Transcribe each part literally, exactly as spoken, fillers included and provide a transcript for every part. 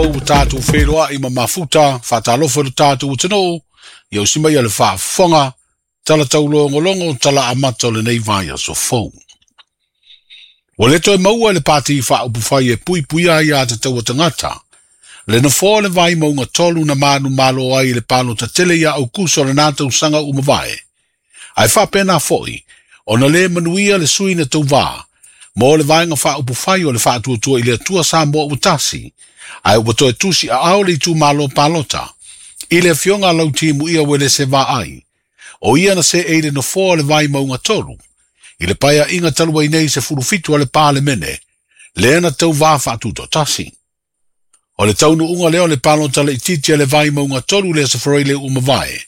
ua tātou wheroa i ma mafuta, whātalofa le tātou utanoo, ia usima ia le whaafonga, tala taulongolongo, tala amata o lenei vai aso fou. Ua le toe maua le pāti whaupufai e pui puia ia te taua tangata. Le nofoa le vai maunga tolu na manu malo ai le palo tatele ia au kuso le nātau sanga umavae. Ai whapena foi, ona le manuia le sui na tau vā, mo le vaenga whaupufai o le whaatuatua i le atua sa moa utasi, ai ua toe tusi a ao le itu malo palota, i le fionga lau timu ia wele se vā ai. O ia na se eile nofoa le vai maunga tolu, i le paia inga talua nei se fulufitu a le pāle mene, le na tau vā whaatuto tasi. O le taunu unga leo le palota le ititi a le vai maunga tolu le se foroi le umavae.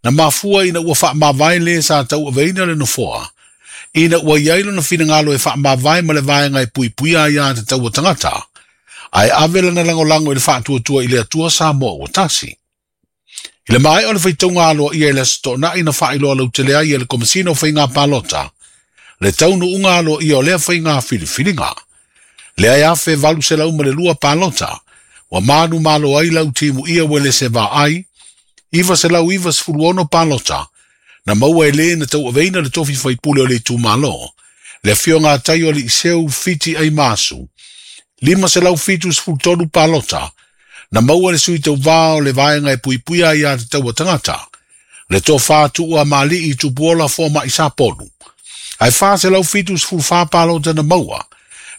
Na mafua ina ua wha mavae le sa tau aveina le nofoa. Ina ua iailo na finangalo e wha mavae ma le vaenga e pui puia ia te taua tangata. Ai avela na langolango i le whaatuatua i le atua sa moa ua tasi. I le mai o le whaitunga aloa ia i le sto'na ina whailoa lau tele ai e le komisino whainga palota. Le taunu unga aloa ia o lea whainga filifilinga. Le ai afe valu se lau ma le lua palota. Wa manu malo ai lau timu ia wele se vā ai. Iwa se lau iwa sefuluono palota. Na maua e le na tau aveina le tofi whaipule o le itu malo. Le fionga tai o le iseu fiti ai masu. Lima se lau fitu sefulutolu palota. Na maua le sui tau vā o le vaenga e puipuia ia te taua tangata. Le tō whātua mali i tupuola fō ma i saponu. Ai whā se lau fitu sefulufā palota na maua.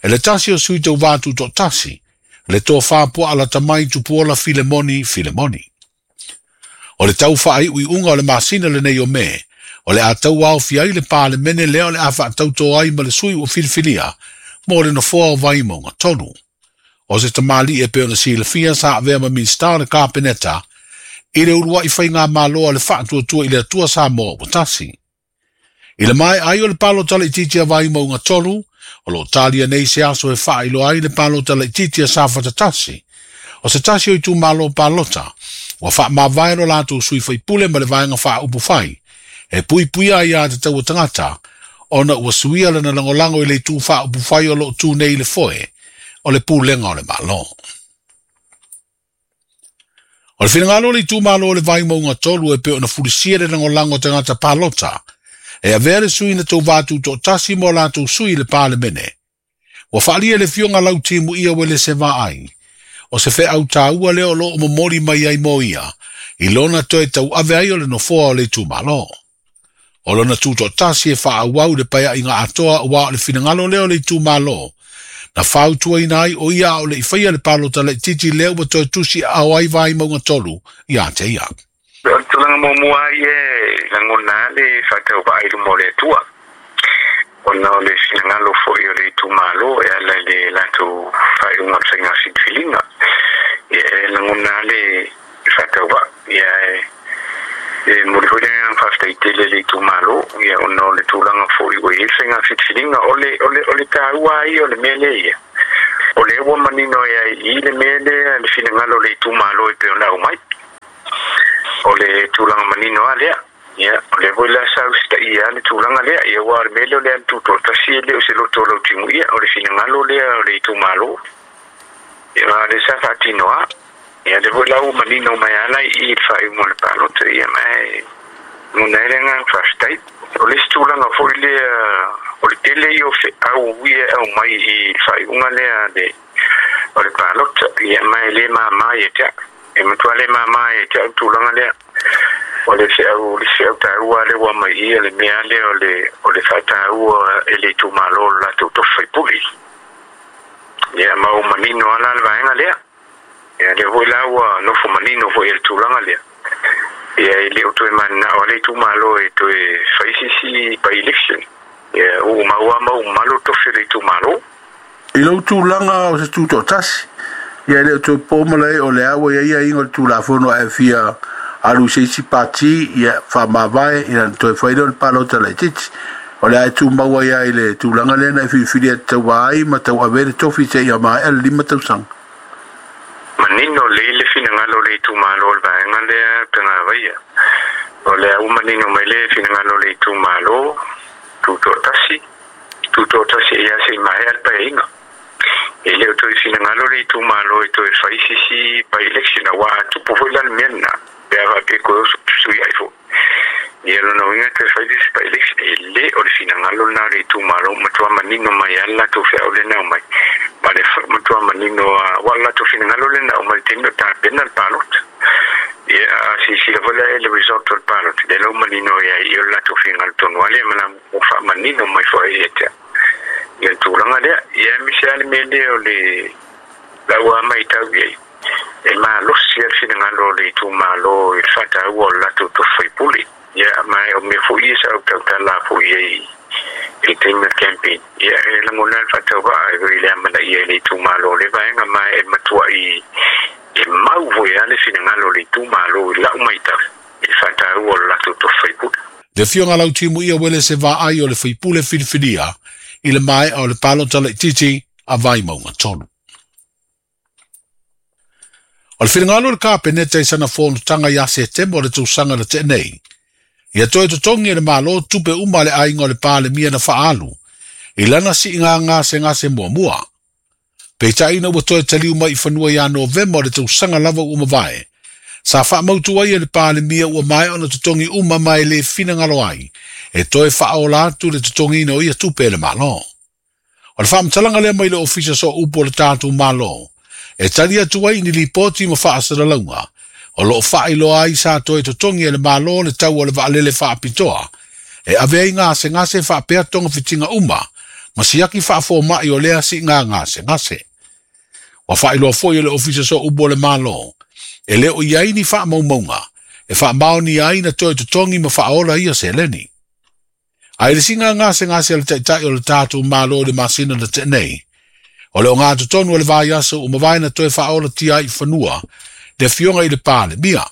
E le tasi o sui tau vā tū tasi. Le tō whāpua ala tamai tupuola filemoni filemoni. O le tau whaai ui unga o le masina le nei o me. O le a tau ao fiai le pāle mene leo le a whaatauto ai ma le sui o filifilia. Mo le nofoa o vai maunga tonu. O se tamali e peo na silafia sa avea ma minista le kapeneta. I le urua i whai ngā maloa le whaatuatua i le atua sa moa o tasi. I le mai ai o le palo tala i titi a vai maunga tolu. O lo talia nei se aso e whailo ai le palo tala i titi a sa whatatasi. O se tasi o i tū malo palota. Ua wha mavaero lātou sui whaipule ma le vaenga wha upu whai. E pui puia ia te taua tangata. Ona ua suia le na langolango i le tū wha upu whai o lo tū nei le foe. O le pūlenga o le malo. O le whingalo le tū malo o le vai maunga tolu e peo na furisia le langolango tangata palota. E avea le sui na tau vātu tō tasi mo lātou sui le pāle mene. Ua whaalia le fionga lau timu ia wele se vā ai. O se whe au tāua leo lo o momori mai ai mo ia. I lona toe tau ave ai o le nofoa o le tū malo. O lona tū tasi e wha au au le paia i ngā atoa o wā o le whingalo leo le tū malo. Na whautua ina ai o ia o le iwhaia le palota le titi leo wa toe tusi au ai vai maunga tolu i a te ia. O le tulaga muamua ai e lagona le faatauvaa i luma o le Atua ona o le finagalo fo'i o le itumalo e ala i le latou faaiuga o le faiga filifiliga. Ia e lagona le faatauvaa ia e e moli foi le agaga faafetaitele le itumalo ia ona o le tulaga fo'i ua i ai le faiga filifiliga. O le o le o le taua ai o le mea lea ia o lea ua manino ai ai i le mea lea le finagalo o le itumalo e pei ona aumai o le tulaga manino a lea. Ia o le foi la sa usitaia le tulaga lea ia ua le mea lea o le alututotasi e le o se loto o lautimu ia o le finagalo lea o le itumalo ia le sa faatinoa. Ia le foi la ua manino mai ala i le faaiuga o le palota ia ma e gona ai le agaga faafetai. O le isi tulaga foi lea o le tele ia o feau ia e aumai i le faaiuga lea le o le palota ia ma e lē māmā ia te a'u e matua lē māmā ia te a'u tulaga lea. O le feau le feau tāua le ua mai ia le mea lea o le o le faataua e le itumalo lo latou tofi faipule ia ma ua manino ala le vaega lea. Ia lea foi la ua nofo manino foi e le tulaga lea ia e le o toe mananao a le itumalo e toe faisisi by election ia ua maua ma ua malo tofi o le itumalo. I lau tulaga o se tutoatasi ia e le o toe po malae o le a ua iai aiga o le tulafono ae fia alu se isi pati ia faamavae ina toe fai lea o le palota laitiiti o le a e tumau ai ai le tulaga lea na e filifili e tauā ai ma tauave le tofi seia maea le lima tausaga. Manino le le finagalo le itumalo o le vaega lea pegavaia o le a ua manino mai le finagalo le itumalo tutoatasi tutoatasi ia sei maea le paeaiga. E le o toe finagalo le itumalo e toe fai sisi by-election auā a tupu foi la le mea lenā pe a faapea koe oso sui ai foʻi. Ia lona uiga toe fai sisi by-election e lē o le finagalo lenā o le itumalo matuā manino mai a le latou feau lena aumai ma le matuā manino a ua le latou finagalo lena aumai le taimi o tapena le palota. Ia a silasila foi la le result o le palota lea la ua manino ai ai o le latou finagalo tonu a lea ma la ua faamanino mai foi ia te ia le tulaga lea. Ia aemaise a le mea lea o le lau a matau i ai e malosi a le finagalo o le itumalo i le faataua o le latou tofi faipule. Ia ma o mea foi ia sa ou tautala foi ai i le taimi o le campaign. Ia e lagona le faatauvaa e le amanaia i le itumalo o le vaega ma e matuai e mau foi a le finagalo o le itumalo i lau matau i le faataua o le latou tofi faipule. Le afioga Lautimuia Uelese Vaai o le faipule filifilia i le maea o le palota laitiiti a Vaimauga tolu. O le finagalo o le Kapeneta i sana fonotaga ia Setema o le tausaga na tea nei, ia toe totogi e le Malo tupe uma a le aiga o le Palemia na faaalu i lana siiga gasegase muamua. Peitai ina ua toe taliu mai i fanua ia Novema o le tausaga lava ua mavae, sa faamautu ai e le Palemia ua maea ona totogi uma ma e le finagalo ai e toe faaola atu le totogiina o ia tupe e le Malo. O le faamatalaga lea mai le Ofisa Sooupu o le tatou Malo e tali atu ai i ni lipoti ma faasalalauga o loo faailoa ai sa toe totogi e le Malo le tau o le vaalele faapitoa e ave ai gasegase faapea togafitiga uma ma siaki faafomai o lea siiga gasegase. Ua faailoa foi e le Ofisa Sooupu o le Malo e le o i ai ni faamaumauga e faamaonia ai na toe totogi ma faaola ia seleni. A i le siiga gasegase a le Taitai o le tatou Malo i le masina na tea nei, o le ogatotonu o le vaiaso ua mavae na toe faaolatia ai i fanua le afioga i le Palemia,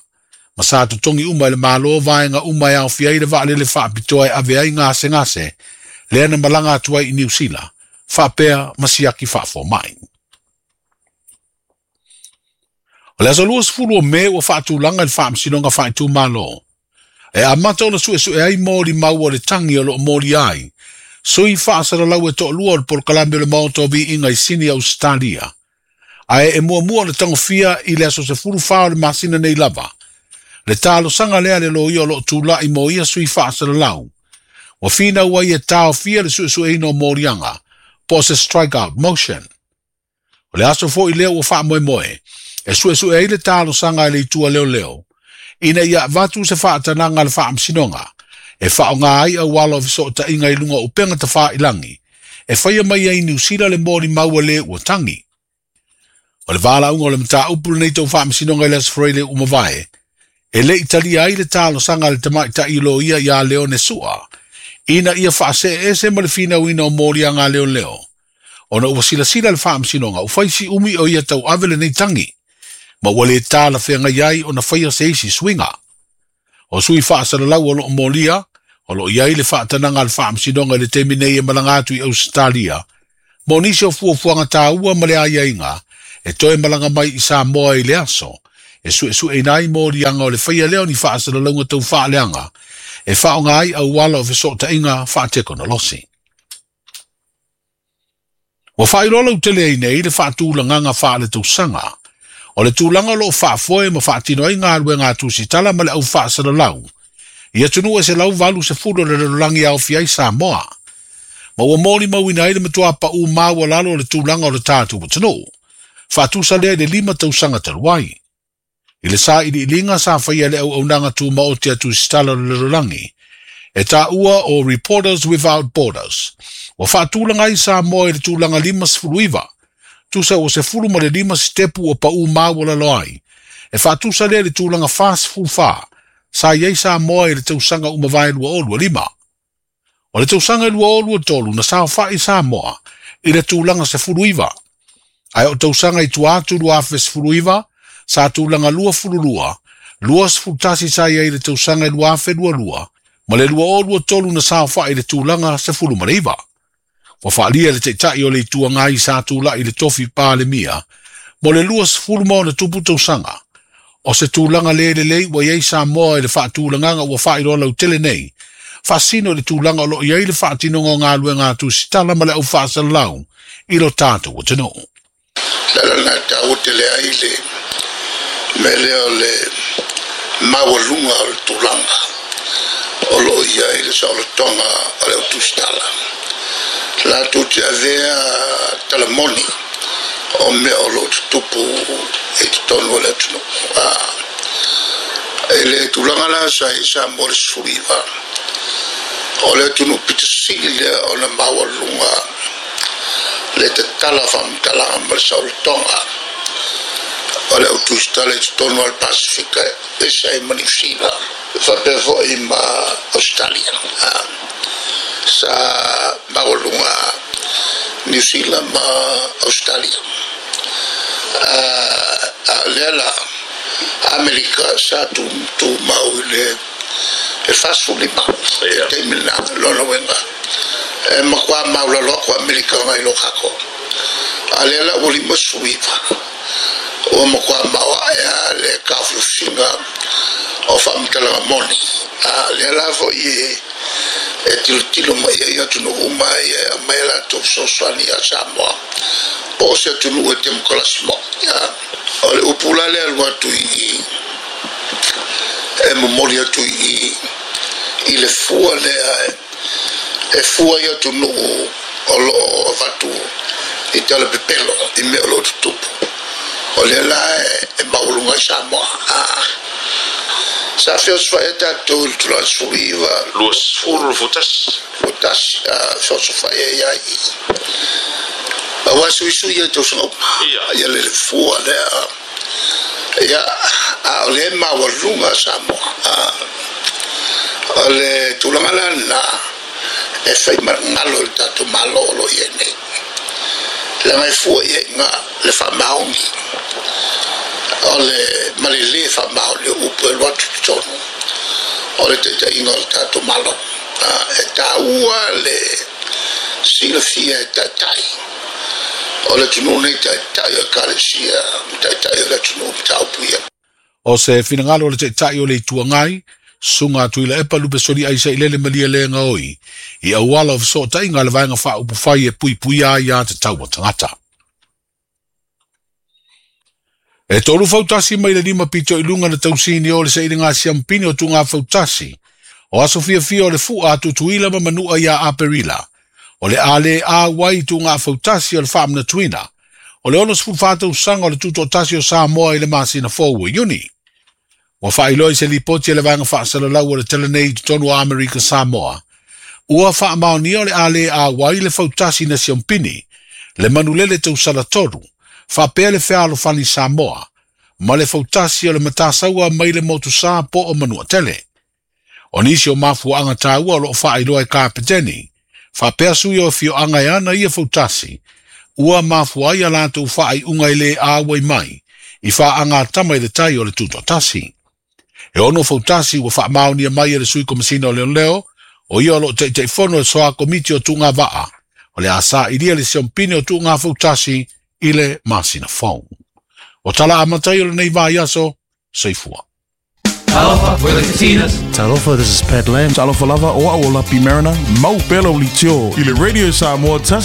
ma sa totogi uma e le Malo vaega uma e aofia ai le vaalele faapitoa e ave ai gasegase lea na malaga atu ai i Niu Sila, faapea ma siaki faafomai. O le aso luasefulu o Me ua faatulaga i le Faamasinoga Faaitumalo e amata ona suesue ai molimau o le tagi o loo molia ai sui faasalalau e toalua o le polokalame o le Maota o Viiga i Sini Ausetalia, ae e muamua ona tagofia i le aso sefulu fa o le masina nei lava le talosaga lea a le loia o loo tulai mo ia sui faasalalau ua finau ai e taofia le suesueina o moliaga po o se strikeout motion. O le aso foi lea ua faamoemoe e suesue ai le talosaga a le itu a leoleo ina ia avatu se faatanaga a le Faamasinoga e faaaoga ai auala o fesootaiga i luga o upega tafailagi e faia mai ai i Niu Sila le molimau a le ua tagi. O le valaauga o le mataupu lenei tau Faamasinoga i le Aso Faraile ua mavae e le i talia ai le talosaga a le tamaitai loia ia Leone Sua ina ia faaseese ma le finauina o moliaga a leoleo ona ua silasila le Faamasinoga ua fai si umi o ia tauave lenei tagi ma ua le talafeagai ai ona faia se isi suiga. O sui faasalalau o loo molia o loo i ai le faatanaga a le Faamasinoga i le taimi nei e malaga atu i Ausetalia mo nisi o fuafuaga taua ma le aiaiga e toe malaga mai i Samoa i le aso e suesueina ai moliaga o le faia lea o ni faasalalauga tau faaleaga e faaaoga ai auala o fesootaiga faatekonolosi. Ua faailoa lautele ai nei le faatulagaga faaletausaga o le tulaga o loo faafoe ma faatino ai galuega a tusitala ma le au faasalalau i atunuu e selau valusefulu o le lalolagi e aofia ai Samoa, ma ua molimauina ai le matuā paū maualalo o le tulaga o le tatou atunuu faatusa lea i le lima tausaga talu ai. I le sailiiliga sa faia e le auaunaga tumaoti a tusitala o le lalolagi e taua o Reporters Without Borders, ua faatulaga ai Samoa i le tulaga limasefulu iva, tusa ua sefulu ma le lima sitepu ua paū maualalo ai, e faatusa lea i le tulaga fasefulu fa sa i ai Samoa i le tausaga ua mavae lua o lua lima. O le tausaga i lua o lua tolu na saofa'i Samoa i le tulaga sefulu iva, ae o tausaga i tua atu lua afe sefulu iva sa tulaga luafulu lua, luasefulu tasi sa i ai i le tausaga i lua afe lua lua, ma le lua o lua tolu na saofa'i i le tulaga sefulu ma le iva. Ua faaalia e le Taitai o le Itu Agai sa tula'i i le tofi Palemia mo le luasefulu ma ona tupu tausaga, o se tulaga le lelei ua i ai Samoa i le faatulagaga ua faailoa lautele nei, faasino i le tulaga o loo i ai le faatinoga o galuega a tusitala ma le au faasalalau i lo tatou atunuu. Le ala lena e taua tele ai le mea lea o le maualuga o le tulaga o loo i ai le saolotoga o le autusitala latou te avea talamoni o mea o loo tutupu i totonu o le atunuu. I le tulaga la sa i Samoa le sefuluiva o le atunuu pitasili lea ona maualuga le tatala faamatalaga ma le saolotoga o le autusitala i totonu o le Pasifika ese ai ma Niusila faapea foi ma Australia. Sa maualuga Niusila ma Australia. A lea la Amerika sa tumau i le e fasefulima i taimi lena lona uiga e matua maulalo aku Amerika ngai lo kākou. A lea la ua lima sefulu iva ua matua maoae a le taofiofiga o faamatalaga moni. A lea la foi e e tilotilo mai ai atunuu uma e aumai a latou fesoasoani ia Samoa po o se atunuu e temokalasi moi. O le upu la lea alu atu i e momoli atu i i le fua lea e fua i atunuu o loo avatu i talapepelo i mea o loo tutupu. O lea la e maualuga ai Samoa. Sa feosofai ai tatou i le tulaga sefulu iva luasefulu tasi tasi feosofai ai ai aua suisui ai tausaga uma ia le fua lea ia a o lea e maualuga Samoa. O le tulaga la lena e fai magalo i le tatou Malo o lo o i ai nei leaga e fua i ai iga le faamaoni o le ma le lē faamaoni o upu e alu atu i totonu o le taitaiga o le tatou Malo. E taua le silafia e taitai o le atunuu nei, taitai o Ekalesia ma taitai o le atunuu mataupu ia. O se finagalo o le Taitai o le Itu Agai, Susuga Tuilaepa Lupesoli Aisailele Malielegaoi, i auala o fesootaiga a le Vaega Faaupufai e puipuia ai a tatau a tagata. E tolu fautasi mai le lima pito i luga na tausini o le sailiga siampini o tuga fautasi o aso fiafia o le fua a Tutuila ma Manua ia Aperila. O le a le auai tuga fautasi o le faamanatuina o le onosefulu fa tausaga o le tutoatasi o Samoa i le masina fou o Iuni. Ua faailoa i se lipoti a le Vaega Faasalalau o le Tala nei i totonu o Amerika Samoa, ua faamaonia o le a le auai le fautasi na siampini, le manulele tausala tolu, faapea le fealofani Samoa, ma le fautasi o le matasaua mai le motusa po o Manuatele. O nisi o mafuaaga taua o loo faailoa e Kapeteni, faapea sui o afioaga e ana ia fautasi, ua mafua ai a latou faaiuga e le auai mai i faagatama i le tai o le tutoatasi. E ono fautasi ua faamaonia mai e le Sui Komesina o Leoleo, o ia o loo Taitaifono e soa komiti o tuuga vaa, o le a sailia le siompine o tuuga fautasi i le masina fou. O tala amatai o lenei vaiaso, soifua. Talofa, we're the Katinas. Talofa, this is Pat Lam. Talofa lava, o au o Lapi Mariner, mau pela o litio. I le Radio Samoa tasi.